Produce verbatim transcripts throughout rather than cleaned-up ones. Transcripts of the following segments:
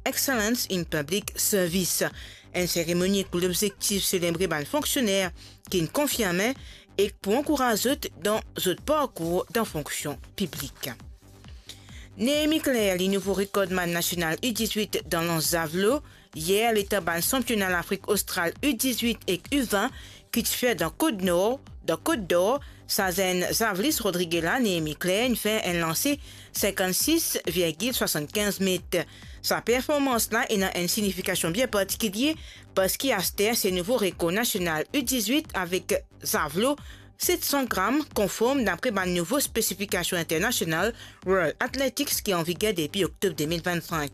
Excellence in Public Service. Enn seremoni pou lobzektif selebre bann fonksioner ki'nn konfirme ek pou ankouraz zot dan zot parkour dan fonksion piblik. Néhémie Claire, li nouvo rekordmann nasional U dix-huit dan lans zavlo. Yer, letan bann sanpiona Lafrik Ostral U dix-huit ek U vingt ki ti fer dan Kot Nor, dan Kot Dor, sa zenn zavlis Rodrige la, Néhémie Claire, inn fer enn lanse sinkannsis virgil swasann-kinz met. Sa performans la ena enn signifikasion bien partikilie, parski aster se nouvo rekor nasional U dix-huit avek zavlo set san gram, konform dapre bann nouvo spesifikasion internasional World Athletics ki an viger depi oktob de mil vinn-sink.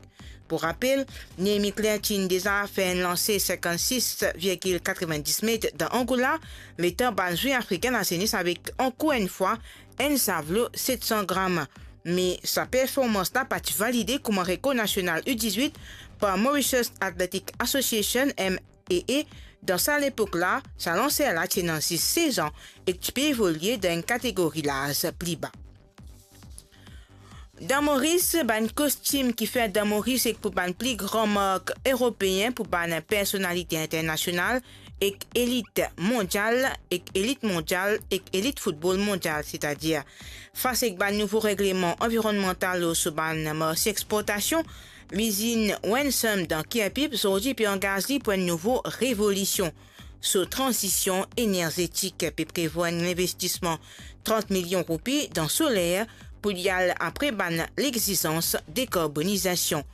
Pou rapel, Néhémie Claire ti'nn deza fer enn lanse sinkannsis virgil katrovin-dis met dan Angola, letan bann zwe afrikin lazenes avek ankor enn fwa enn zavlo set san gram. Me sa performans la pa ti valide kouma rekor nasional U dix-huit par Mauritius Athletic Association, M A A. Dan sa lepok la, sa lanser la ti ena zis sez an ek ti pe evolie dan enn kategori laz pli ba. Dan Moris, bann kostim ki fer dan Moris ek pou bann pli gran mark eropeen, pou bann personalite internasional ek elit mondial, ek elit mondial, ek elit foutbol mondial, setadir fas ek bann nouvo regleman anvironnmantal lor so bann marse exportasion, lizinn Wensum dan Kirpip zordi pe angaz li pou enn nouvo revolision. So tranzision enerzetik pe prevwar enn linvestisman trant milion roupi dan soler pou li al apre bann lexizans dekarbonizasion.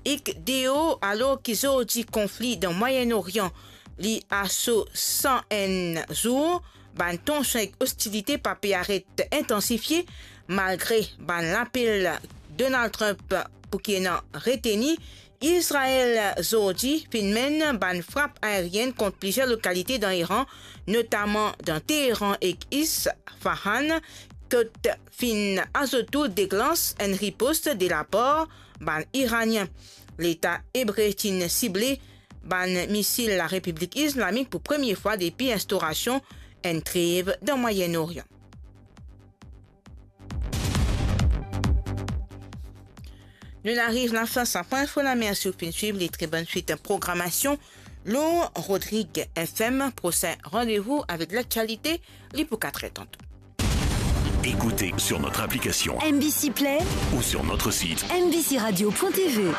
Ek deor, alor ki zordi konfli dan Mwayenn Orian li a so san enn zour, bann tansion ek ostilite pa pe aret intansifie, malgre bann lapel Donald Trump pou ki ena reteni, Izrael zordi finn menn bann frap aerienn kont plizier lokalite dan Iran, notaman dan Teheran ek Isfahan, kot finn azot tou deklans enn ripost de lapar bann Iranien. Leta Ebre ti'nn sible bann misil Larepiblik Islamik pou premie fwa depi instaurasion enn trev dan Mwayenn Orian. Nou'nn ariv lafin sa pwin info la, mersi ou finn swiv li, tre bonn swit programasion lor Rodrigue F M. Prosin randevou avek laktialite, li pou kat er tanto. Écoutez sur notre application M B C Play ou sur notre site M B C radio point T V.